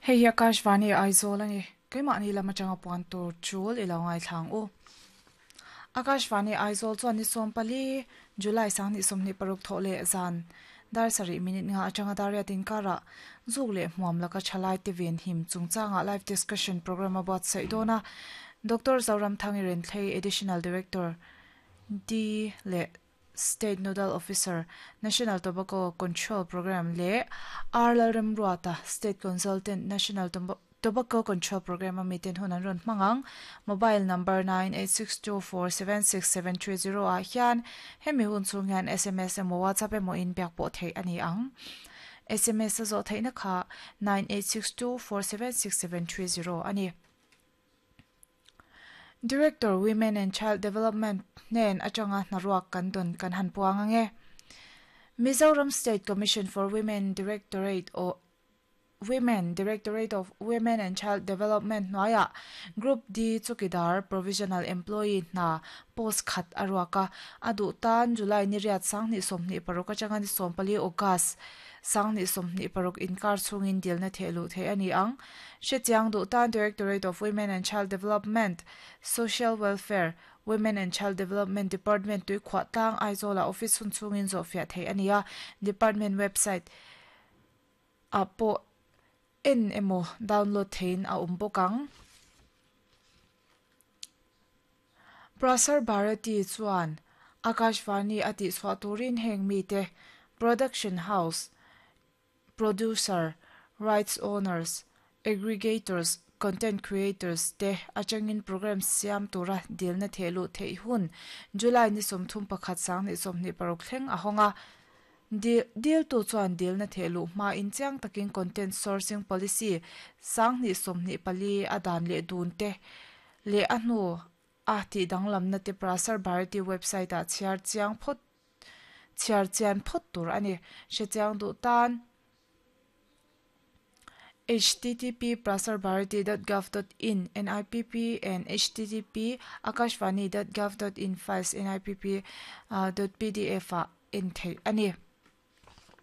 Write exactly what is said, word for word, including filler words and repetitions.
Hei hi Akashvani Aizawl a ni. Keimahni lam atanga puan tur chul i lo ngaithlang u. Akashvani Aizawl chuan ni sawm pali July sanghnih sawmhnih paruk thawh leh zan dar sarih minute nga atanga dar riat inkarah zuk leh hmuam laka thalai te ven him chungchangah live discussion program a buatsaih dawn a. Doctor Zoramthangi Renthlei Additional Director D leh State Nodal Officer, National Tobacco Control Programme leh R Lalremruata, State Consultant, National Tobacco Control Programme a miten hun an rawn hmang ang. Mobile number nine eight six two four seven six seven three zero ah hian hemi hun chhung hian S M S emaw WhatsApp emaw in biak pawh theih a ni ang. S M S a zawh theihna kha nine eight six two four seven six seven three zero a ni. Director Women and Child Development hnen atanga hnaruak kan dawn kan han puang ange. Mizoram State Commission for Women Directorate o Women Directorate of Women and Child Development hnuaiah Group D chukidar Provisional Employee hna post khat a ruak a, a duh tan July ni riat sanghnih sawmhnih paruk atanga ni sawm pali August sanghnih sawmhnih paruk inkar chhungin dilna thehluh theih a ni ang. Hrechiang duh tan Directorate of Women and Child Development, Social Welfare, Women and Child Development Department tuikhuah tlang Aizawla office hun chhungin zawhfiah theih a ni a, department website ah pawh en emaw download theiin a awm bawk ang. Prasar Bharati chuan Akashvani a tihchhuah turin heng mite production house, producer, rights owners, aggregators, content creators te atangin program siam tura dilna thehluh theih hun July ni sawmthum pakhat sanghnih sawmhnih paruk thleng a hawng a. Dil tu chuan dilna thehluh hma in chiang takin content sourcing policy sanghnih sawmhnih pali a dan leh dun te leh a hnu a tih danglamna te Prasar Bharati website ah chhiar chiang phawt chhiar chian phawt tur a ni. Hrechiang duh tan H T T P prasarbharati dot gov dot in N I P P and H T T P akashvani dot gov dot in files N I P P dot P D F ah en theih a ni.